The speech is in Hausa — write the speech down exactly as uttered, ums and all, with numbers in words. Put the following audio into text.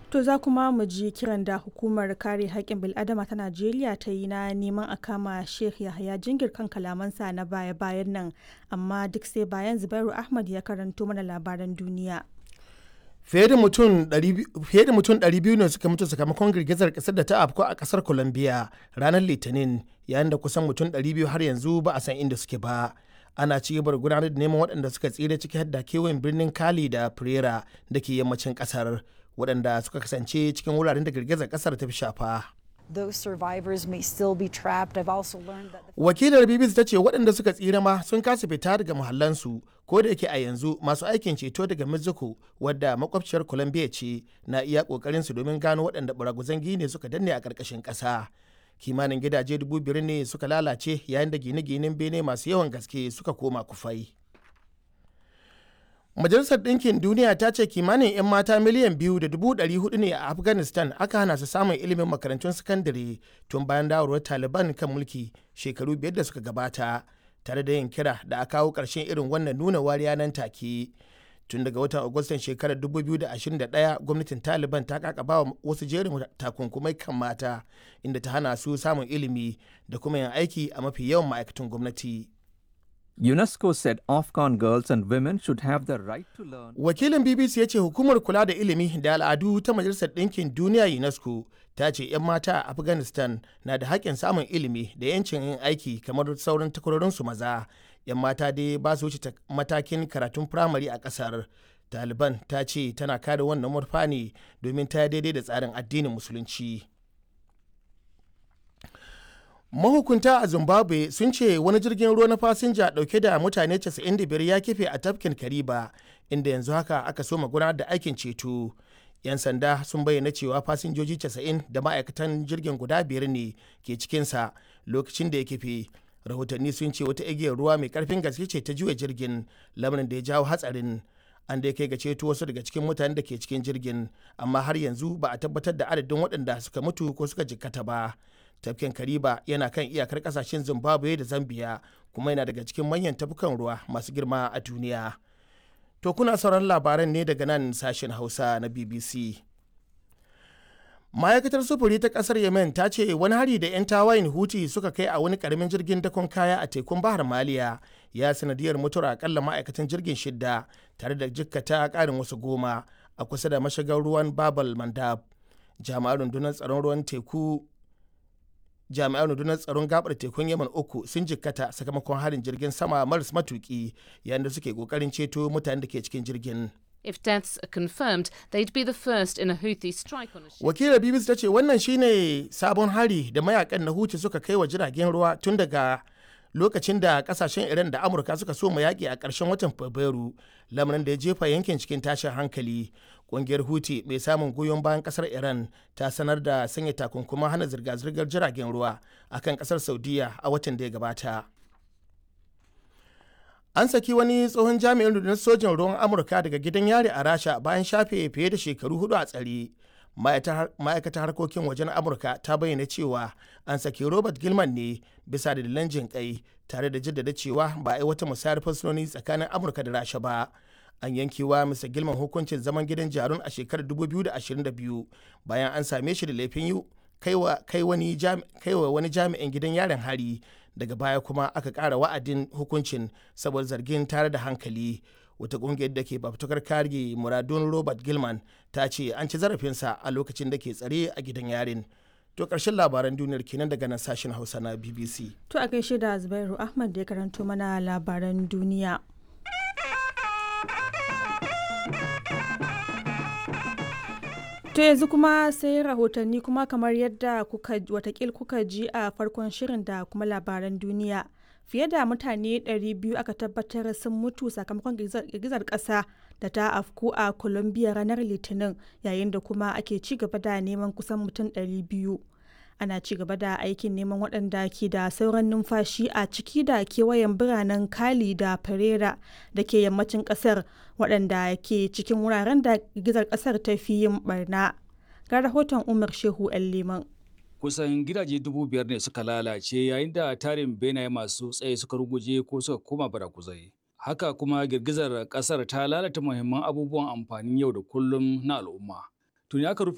To za kuma mu ji kiran da hukumar kare haƙƙin bil'adama ta Najeriya ta yi na neman a kama Sheikh Yahaya Jingir kan kalamansa na baya-bayan nan, amma duk sai bayan Zubairu Ahmad ya karanto mana labaran duniya. Fiye da mutum ɗari biyu ne suka mutu sakamakon girgizar kasar da ta afku a kasar Colombia ranar Litinin, yayin da kusan mutum ɗari biyu har yanzu ba a san inda suke ba. Ana ci gaba da gudanar da neman waɗanda suka tsira, ciki har da kewayen birnin Cali da Pereira da ke yammacin kasar, waɗanda suka kasance cikin wuraren da girgizar kasar ta fi shafa. Those survivors may still be trapped. I've also learned that the Wakilar B B C ta ce waɗanda suka tsira ma sun kasa fita daga muhallansu, ko da yake a yanzu masu aikin ceto daga Mexico, wadda makwabciyar Colombia ce, na iya ƙoƙarin su domin gano waɗanda baraguzan gine suka danne a ƙarƙashin ƙasa. Kimanin gidaje dubu biyar ne suka lalace, yayin da gine-ginen bene masu yawan gaske suka koma kufai. Majalisar Ɗinkin Duniya ta ce kimanin 'yan mata miliyan biyu da dubu ɗari hudu ne a Afghanistan aka hana su samun ilimin makarantun sakandare tun bayan dawarwar Taliban kan mulki shekaru biyar da suka gabata, tare da yin kira da a kawo ƙarshen irin wannan nuna wariya nan take. Tun daga watan Agustan shekarar dubu biyu da ashirin da ɗaya, gwamnatin Taliban ta kakaba wa wasu jerin takunkumai kan mata, inda ta hana su samun ilimi da kuma yin aiki a mafi yawan ma'aikatan gwamnati. UNESCO said Afghan girls and women should have the right to learn. Wakilin B B C ya ce hukumar kula da ilimi da al'adu ta Majalisar Ɗinkin Duniya UNESCO ta ce 'yan mata a Afghanistan na da haƙƙin samun ilimi da 'yancin yin aiki kamar sauran takwarorinsu maza. 'Yan mata dai ba su wuce matakin karatun firamare a ƙasar. Taliban ta ce tana kare wannan murfa ne domin ta daidai da tsarin addinin Musulunci. Mahukunta a Zimbabwe sun ce wani jirgin ruwa na fasinja dauke da mutane casa'in da biyar ya kife a tafkin Kariba, inda yanzu haka aka soma gudanar da aikin ceto. 'Yan sanda sun bayyana cewa fasinjoji casa'in da ma'aikatan jirgin guda biyar ne ke cikinsa lokacin da ya kife. Rahotanni sun ce wata igiyar ruwa mai karfin gaske ce ta juya jirgin, lamarin da ya jawo hatsarin. An dai kai ga ceto wasu daga cikin mutanen da ke cikin jirgin, amma har yanzu ba a tabbatar da adadin waɗanda suka mutu ko suka jikkata ba. Tafkin Kariba yana kan iyakar kasashen Zimbabwe da Zambia, kuma yana daga cikin manyan tafkukan ruwa masu girma a duniya. To, kuna sauran labaran ne daga nan sashen Hausa na B B C. Ma'aikatar sufuri ta kasar Yemen ta ce wani hari da 'yan tawayin Huti suka kai a wani karamin jirgin dakon kaya a tekun Bahar Maliya ya sanadiyar mutuwar akalla ma'aikatan jirgin shidda, tare da jikkata karin wasu goma a kusa da mashigar ruwan Babal Mandab. Jami'an rundunar tsaron ruwan teku jami'an rundunar tsaron gabar tekun Yemen uku sun jikkata sakamakon harin jirgin sama maras matuki yayin da suke kokarin ceto mutanen da ke cikin jirgin. If deaths are confirmed, they'd be the first in a Houthi strike on a ship. Wakilar B B C ta ce wannan shine sabon hari da mayakan na Huti suka kai wa jiragen ruwa tun daga lokacin da kasashen Iran da Amurka suka so mu yaƙi a ƙarshen watan Fabrairu, lamarin da ya jefa yankin cikin tashin hankali. Ƙungiyar Huti mai samun goyon bayan ƙasar Iran ta sanar da sanya takunkuman hana zirga-zirgar jiragen ruwa akan ƙasar Saudiya a watan da ya gabata. An saki wani tsohon jami'in rundunar sojin ruwan Amurka daga gidan yari a Rasha bayan shafe fiye da shekaru hudu a tsare. Ma'aikatar harkokin wajen Amurka ta bayyana cewa an saki Robert Gilman ne bisa dalilan jin kai, tare da jaddada cewa ba a yi wata musayar fursunoni tsakanin Amurka da Rasha ba. An yankewa Mister Gilman hukuncin zaman gidan jarun a shekarar dubu biyu da ashirin da biyu bayan an same shi da laifin yi kai wa wani jami'in gidan yarin hari. Daga baya kuma aka ƙara wa'adin hukuncin saboda zargin tare da hankali. Wata ƙungiyar da ke fafutukar kare muradun Robert Gilman ta ce an ci zarafinsa a lokacin da ke tsare a gidan yarin. To, ƙarshen labaran duniyar kenan daga nan sashen Hausa na B B C. To, a gaishe da Zubairu Ahmad da ya karanto mana labaran duniya. To, yanzu kuma sai rahotanni. Kuma kamar yadda kuka watakil kuka ji a farkon shirin da kuma labaran duniya, fiye da mutane ɗari biyu aka tabbatar sun mutu sakamakon girgizar ƙasa da ta afku a Colombia ranar Litinin, yayin da kuma ake ci gaba da neman kusan mutum ɗari biyu. Ana ci gaba da aikin neman waɗanda ke da sauran numfashi a ciki da kewayen biranen Cali da Pereira da ke yammacin ƙasar, waɗanda ke cikin wuraren da girgizar ƙasar ta fi yin barna. Ga rahoton Umar Shehu 'Yan Liman. Kusan gidaje dubu biyar ne suka lalace, yayin da tarin benaye masu tsaye suka ruguje ko suka koma barakuzai. Haka kuma girgizar kasar ta lalata muhimman abubuwan amfanin yau da kullum na al'umma. Tuni aka rufe